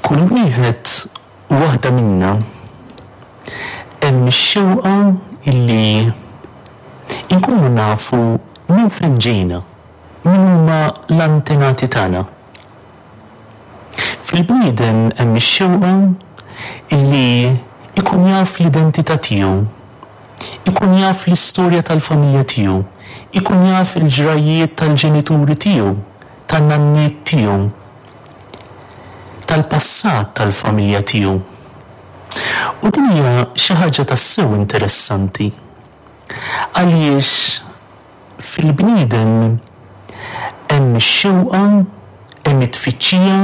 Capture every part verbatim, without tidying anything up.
F'kull wieħed u waħda minna hemm ix-xewqa illi inkunu nafu minn fejn ġejna, min huma l-antenati tagħna. Fil-bniedem hemm ix-xewqa illi ikun jaf l-identità tiegħu, ikun jaf l-istorja tal-familja tiegħu, ikun jaf il-ġrajiet tal-ġenituri tiegħu, tan-nanniet tiegħu, tal-passat tal-familja tiegħu. U din hija xi ħaġa tassew interessanti. Għaliex fil-bniedem hemm ix-xewqa, hemm it-tfittxija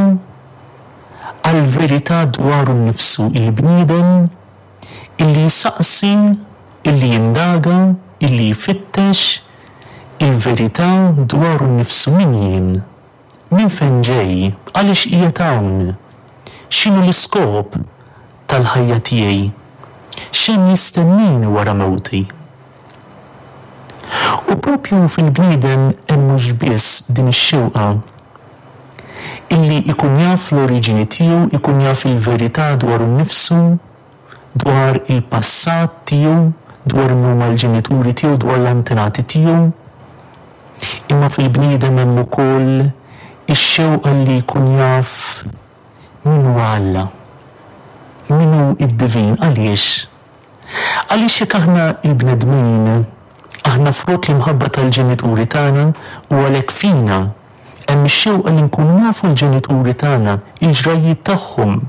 għall-verità dwaru nnifsu, il-bniedem illi jsaqsi, illi jindaga, illi jfittex il-verità dwaru nnifsu: min jien, minn fejn ġej, għaliex qiegħed hawn, x'inhu l-iskop tal-ħajja tiegħi, x'hemm jistennini wara mewti. U propju fil-bniedem hemm mhux biss din ix-xewqa illi ikun jaf l-oriġini tiegħu, ikun jaf il-verità dwaru nnifsu, dwar il-passat tiegħu, dwar min huma l-ġenituri tiegħu, dwar l-antenati tiegħu. Imma fil-bniedem hemm ukoll ix-xewqa li jkun jaf min huwa Alla, min hu id-divin. Għaliex? Għaliex jekk aħna il-bnedmin, aħna frott l-imħabba tal-ġenituri tagħna u għalhekk fina hemm ix-xewqa li nkunu nafu l-ġenituri tagħna, il-ġrajiet tagħhom,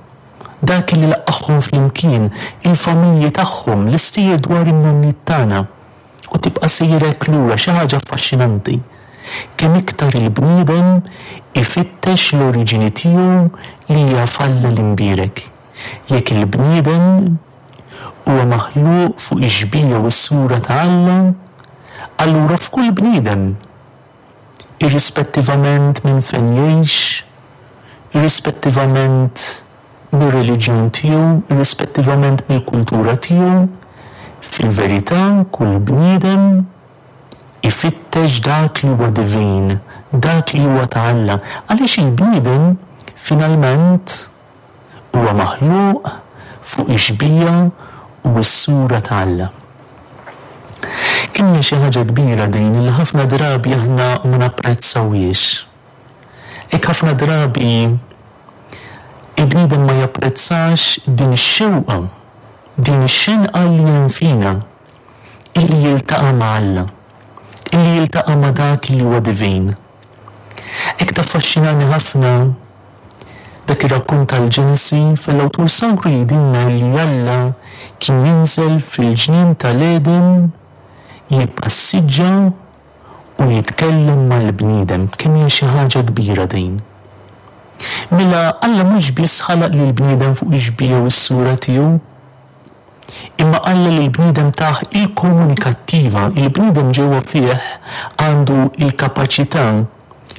dak li laqqagħhom flimkien, il-familji tagħhom, l-istejjer dwar in-nanniet tagħna. U tibqa' sejrek lura, xi ħaġa affaxxinanti. Kemm iktar il-bniedem ifittex l-oriġini tiegħu li hija f'Alla l-imbierek. Jekk il-bniedem huwa maħluq fuq ix-xbieha u s-sura ta' Alla, allura f'kull bniedem, irrispettivament minn fejn jgħix, irrispettivament mir-reliġjon tiegħu, irrispettivament mill-kultura tiegħu, fil-verità kull bniedem ifittex dak li huwa divin, dak li huwa ta' Alla. Għaliex il-bniedem finalment huwa maħluq fuq ix-xbieha u s-sura ta' Alla. Kemm hija xi ħaġa kbira din li ħafna drabi aħna ma napprezzawhiex. Hekk ħafna drabi il-bniedem ma japprezzax din ix-xewqa, din ix-xenqa li hemm fina, illi jiltaqa' ma' Alla, illi jiltaqa' ma' dak li huwa divin. Hekk taffaxxinani ħafna dak ir-rakkont tal-Ġenesi fil-awtur sagru jgħidilna li Alla kien jinżel fil-ġnien tal-Eden, jippassiġġa u jitkellem mal-bniedem. Kemm hija xi ħaġa kbira din. Mela Alla mhux biss ħalaq lill-bniedem fuq ix-xbieha u s-sura tiegħu, imma Alla lill-bniedem tah il-komunikattiva, il-bniedem ġewwa fih għandu il-kapaċità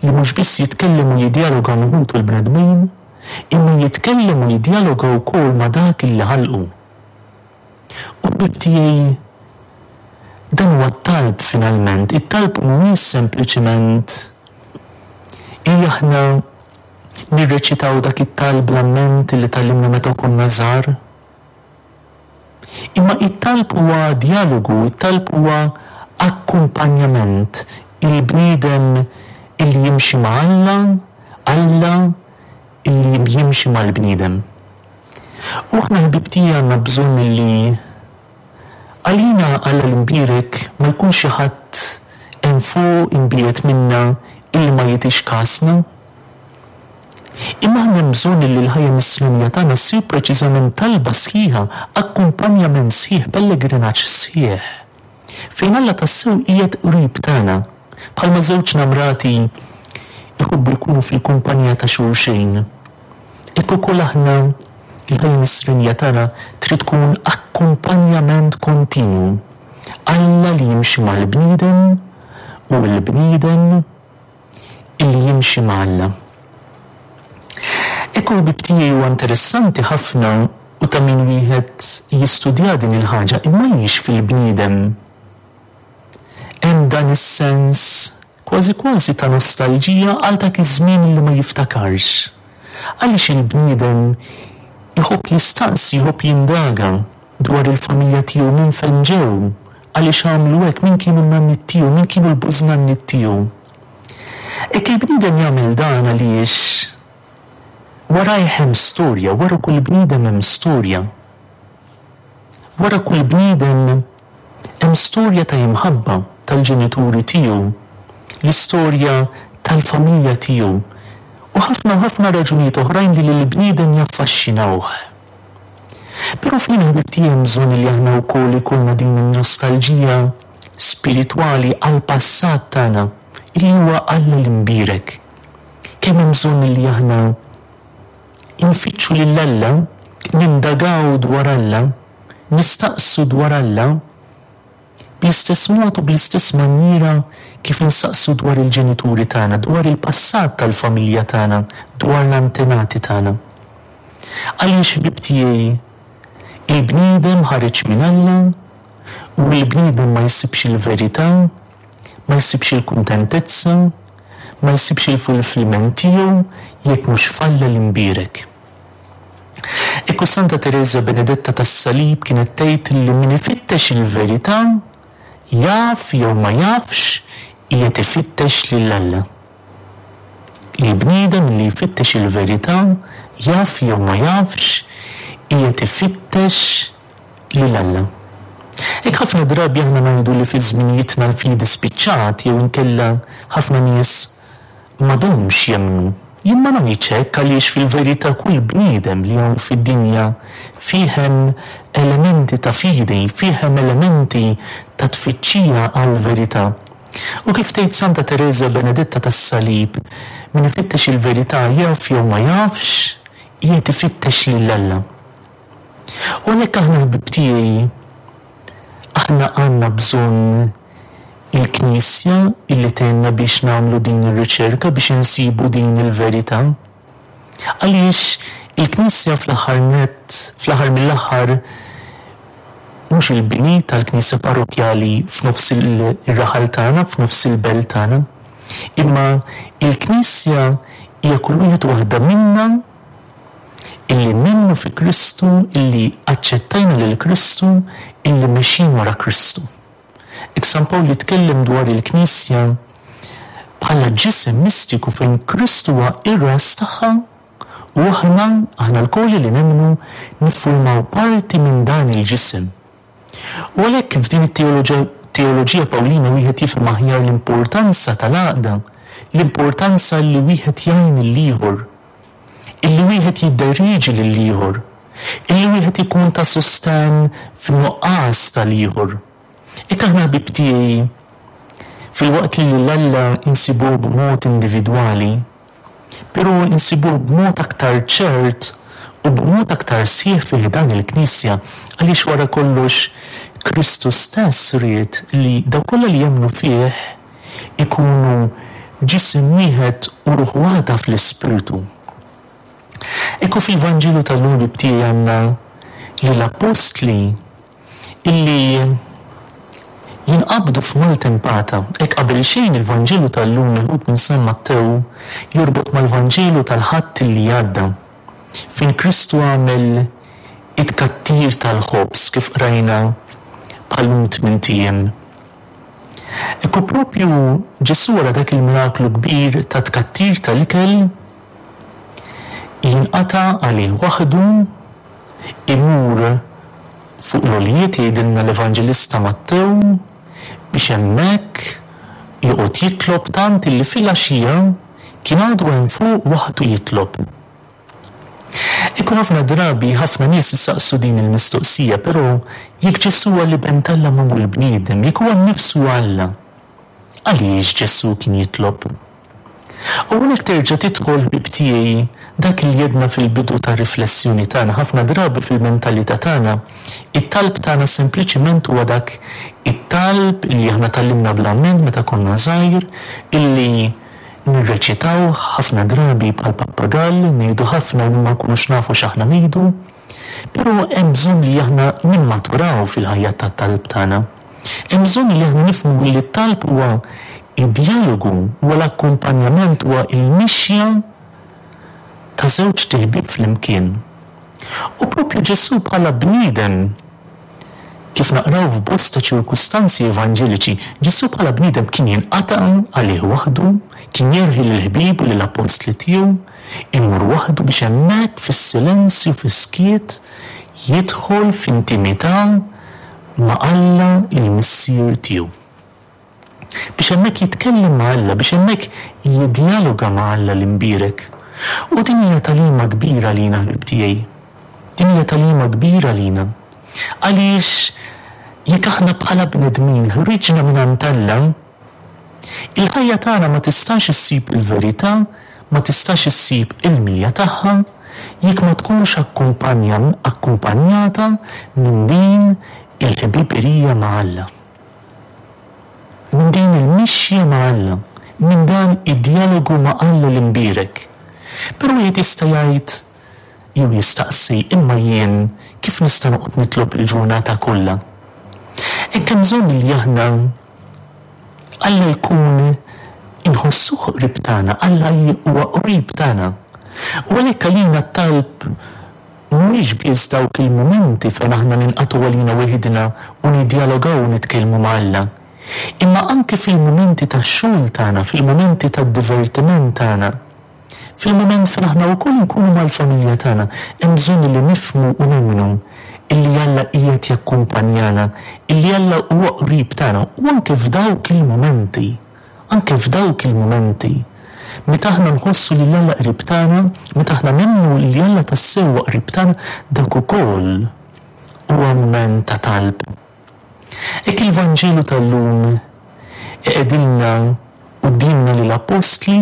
li mhux biss jitkellem u jidjaloga ma' ħutu l-bnedmin, imma jitkellem u jidjaloga wkoll ma' dak illi ħalqu. U ħbieb tiegħi, dan huwa t-talb finalment. It-talb mhuwiex sempliċement illi aħna nirreċitaw dak it-talb l-amment li tgħallimna meta konna żgħar. Imma it-talb huwa dialogu, it-talb huwa akkumpanjament. Il-bniedem illi jimxi ma' Alla, Alla illi jimxi mal-bniedem. U aħna ħbieb tiegħi għandna bżonn illi għalina Alla l-imbierek ma jkunx xi ħadd hemm fuq imbiegħed minna illi ma jagħtix kasna. Imma aħna bżonn illi l-ħajja nisranija tagħna ssir preċiżament talba sħiħa, akkumpanjament sħiħ, pellegrinaġġ sħiħ, fejn Alla tassew qiegħed qrib tagħna, bħalma żewġ namrati jħobbu jkunu fil-kumpanija ta' xulxin. Hekk ukoll aħna il-ħajja nisranija tagħna trid tkun akkumpanjament kontinu. Alla li jimxi mal-bniedem u l-bniedem illi jimxi ma' Alla. Ekku ħbieb tiegħi, huwa interessanti ħafna u ta' min wieħed jistudja din il-ħaġa, imma għaliex fil-bniedem hemm dan is-sens kważi kważi ta' nostalġija għal dak iż-żmien li ma jiftakarx, Għaliex il-bniedem iħobb jistaqsi, jħobb jindaga dwar il-familja tiegħu, minn fejn ġew, għaliex għamlu hekk, min kienu n-nanniet tiegħu, min kienu l-bużnanniet tiegħu. Hekk il-bniedem jagħmel dan għaliex warajh hemm storja, wara kull bniedem hemm storja. Wara kull bniedem hemm storja ta' imħabba tal-ġenituri tiegħu, l-istorja tal-familja tiegħu, u ħafna u ħafna raġunijiet oħrajn li lill-bniedem jaffaxxinawh. Però fina, ħbieb tiegħi, hemm bżonn li aħna wkoll ikollna din in-nostalġija spiritwali għall-passat tagħna, illi huwa Alla l-imbierek. Kemm hemm bżonn li aħna nfittxu lil Alla, nindagaw dwar Alla, nistaqsu dwar Alla, bl-istess mod u bl-istess maniera kif insaqsu dwar il-ġenituri tagħna, dwar il-passat tal-familja tagħna, dwar l-antenati tagħna. Għaliex, ħbieb tiegħi, il-bniedem ħareġ minn Alla u l-bniedem ma jsibx il-verità, ma jsibx il-kuntentezza, ma jsibx il-fulfillment tiegħu jekk mhux f'Alla l-imbierek. Ekku Santa Teresa Benedetta tas-Salib kienet tgħid li min ifittex il-verità, jaf jew ma jafx, qiegħed ifittex lil Alla. Il-bniedem li jfittex il-verità, jaf jew ma jafx, qiegħed ifittex lil Alla. Hekk ħafna drabi aħna ngħidu li fi żminijietna l-fidi spiċċat jew inkella ħafna nies m'għadhomx jemmnu. Jien ma ngħidx hekk, għaliex fil-verità kull bniedem li hawn fid-dinja fih hemm elementi ta' fidi, fih hemm elementi ta' tfittxija għal-verità. U kif tgħid Santa Teresa Benedetta tas-Salib, min ifittex il-verità, jaf jew ma jafx, qiegħed ifittex lil Alla. U għalhekk aħna, ħbieb tiegħi, aħna għandna bżonn il-Knisja illi tgħinna biex nagħmlu din ir-riċerka, biex insibu din il-verità. Għaliex il-Knisja fl-aħħar net, fl-aħħar mill-aħħar, mhux il-bini tal-Knisja parrokjali f'nofs il-raħal tagħna, f'nofs il-belt tagħna, imma il-Knisja hija kull wieħed waħda minna illi nemmnu fi Kristu, illi aċċettajna lil Kristu, illi mexjin wara Kristu. Hekk San Pawl jitkellem dwar il-Knisja bħala ġisem mistiku fejn Kristu huwa ir-ras tagħha u aħna, aħna lkoll li nemmnu, niffurmaw parti minn dan il-ġisem. U għalhekk f'din it-teoloġija Pawlina wieħed jifhem aħjar l-importanza tal-għaqda, l-importanza li wieħed jgħin lill-ieħor, illi wieħed jidderieġi lill-ieħor, illi wieħed ikun ta' sosten f'nuqqas tal-ieħor. Hekk aħna, ħbieb tiegħi, filwaqt li lil Alla insibuh b'mod individwali, però insibuh b'mod aktar ċert u b'mod aktar sħiħ fih dan il-Knisja, għaliex wara kollox Kristu stess ried li dawk kollha li jemmnu fih ikunu ġisem wieħed u ruħ waħda fl-Ispirtu. Ekku fil-Vanġelu tal-lum, ħbieb tiegħi, għandna li l-apostli illi jinqabdu f'maltempata. Hekk qabel xejn il-Vanġelu tal-lum meħud minn San Mattew jorbot mal-Vanġelu tal-Ħadd li għadda, fejn Kristu għamel it-tkattir tal-ħobż kif qrajna bħal-lum tmint ijiem. Ekku propju Ġesù, wara dak il-miraklu kbir ta' tkattir tal-ikel, jinqata' għalih waħdu, imur fuq l-għoljiet, jgħidilna l-Evanġelista Mattew, biex hemmhekk joqgħod jitlob, tant illi fil-għaxija kien għadu hemm fuq waħdu jitlob. Ikun ħafna drabi ħafna nies jistaqsu din il-mistoqsija, però jekk Ġesù huwa l-Iben t'Alla magħmul bniedem, jekk huwa nnifsu Alla, għaliex Ġesù kien jitlob? U hawnhekk terġa' tidħol, ħbieb tiegħi, dak li għedna fil-bidu ta' riflessjoni tagħna. Ħafna drabi fil-mentalità tagħna, it-talb tagħna sempliċiment huwa dak it-talb li aħna tgħallimna bl-amment meta konna żgħir, illi nirreċitaw ħafna drabi bħal pappagall, ngħidu ħafna u ma nkunux nafu x'aħna ngħidu, però hemm bżonn li aħna nimmaturaw fil-ħajja tat-talb tagħna. Hemm bżonn li aħna nifhmu li t-talb huwa id-dialogu, huwa l-akkumpanjament, huwa il-mixja ta' ta' żewġt iħbieb flimkien. U propju Ġesù bħala bniedem, kif naqraw f'bosta ċirkustanzi evanġeliċi, Ġesù bħala bniedem kien jinqata' għalih waħdu, kien jerħi lill-ħbieb u lill-appostli tiegħu, imur waħdu biex hemmhekk fis-silenzju, fis-skiet, jidħol f'intimità ma' Alla il-Missier tiegħu. Biex hemmhekk jitkellem ma' Alla, biex hemmhekk jiddjaloga ma' Alla l-imbierek. U din hija tagħlima kbira lina, ħbieb tiegħi. Din hija tagħlima kbira lina. Għaliex jekk aħna bħala bnedmin ħriġna minn għand Alla, il-ħajja tagħna ma tistax issib il-verità, ma tistax issib il-milja tagħha, jekk ma tkunx akkumpanjata minn din il-ħbiberija ma' Alla. Minn din il-mixja ma' Alla, minn dan id-dialogu ma' Alla l-imbierek. Però wieħed jista' jgħid jew jistaqsi, imma jien kif nista' noqgħod nitlob il-ġurnata kollha? Hekk hemm bżonn li aħna Alla jkun inħossuh qrib tagħna, Alla huwa qrib tagħna. U għalhekk għalina t-talb mhuwiex biss dawk il-mumenti fejn aħna ninqatgħu għalina weħidna u niddialogaw u nitkellmu ma' Alla. Imma anke fil-mumenti tax-xogħol tagħna, fil-mumenti tad-divertiment tagħna, fil-mument fejn aħna wkoll nkunu mal-familja tagħna, hemm bżonn li nifhmu u nemmnu illi Alla qiegħed jakkumpanjana, illi Alla huwa qrib tagħna, u anke f'dawk il-mumenti, anke f'dawk il-mumenti, meta aħna nħossu li Alla qrib tagħna, meta aħna nemmnu li Alla tassew huwa qrib tagħna, dak ukoll huwa mument ta' talb. Hekk il-Vanġelu tal-lum iqegħdilna quddiemna lill-appostli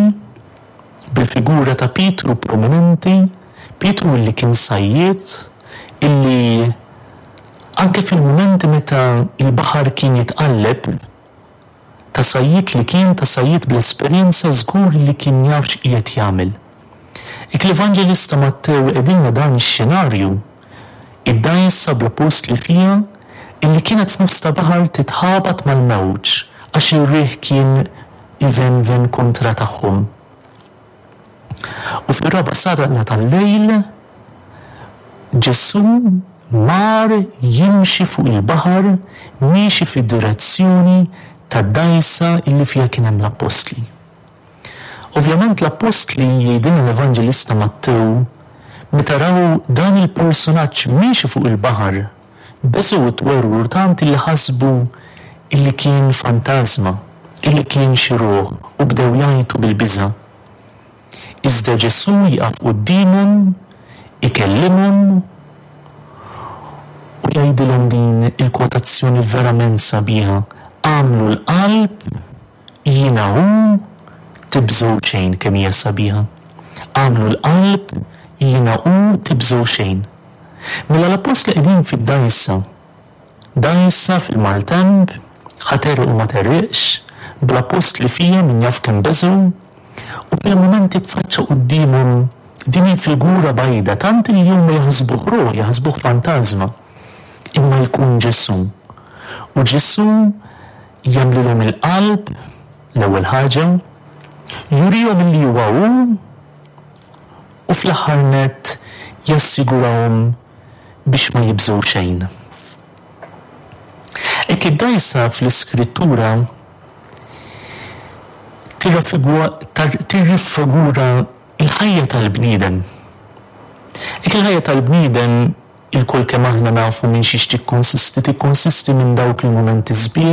bil-figura ta' Pietru prominenti, Pietru illi kien sajjied, illi anke fil-mumenti meta il-baħar kien jitqalleb, ta' sajjied li kien, ta' sajjied bl-esperjenza, żgur li kien jaf x'qiegħed jagħmel. Hekk l-Evanġelista Mattew qegħdilna dan ix-xenarju, id-dgħajsa bl-appostli fiha illi kienet f'nofs ta' baħar titħabat mal-mewġ għax ir-riħ kien ivenven kontra tagħhom. U fir-raba' sagħta tal-lejl Ġesù mar jimxi fuq il-baħar, miexi fid-direzzjoni tad-dgħajsa illi fiha kien hemm l-appostli. Ovvjament l-appostli, jgħidilna l-Evanġelista Mattew, meta raw dan il-personaġġ miexi fuq il-baħar, beżgħu twerwru tant illi ħasbu illi kien fantasma, illi kien xi ruħ, u bdew jgħajtu bil-biża'. Iżda Ġesù jaqaf quddiemhom, ikellimhom u jgħidilhom din il-kwotazzjoni verament sabiħa: għamlu l-qalb, jiena hu, tibżgħu xejn. Kemm hija sabiħa. Għamlu l-qalb, jiena hu, tibżgħu xejn. Mela l-appostli qegħdin fid-dgħajsa, dgħajsa fil-maltemp, ħa tegħreq u ma tegħreqx, bl-appostli fiha min jaf kemm beżgħu, u fil-mument titfaċċa quddiemhom din il-figura bajda, tant li huma jaħsbuh ruħ, jaħsbuh fantasma, imma jkun Ġesù. U Ġesù jagħmlilhom il-qalb l-ewwel ħaġa, jurihom li huwa hu, u fl-aħħar nett jassigurahom biex ma jibżgħu xejn. Hekk id-dgħajsa fl-Iskrittura tirrifigura il-ħajja tal-bniedem. Hekk il-ħajja tal-bniedem ilkoll kemm aħna nafu minn xiex tikkonsisti, tikkonsisti minn dawk il-mumenti sbieħ.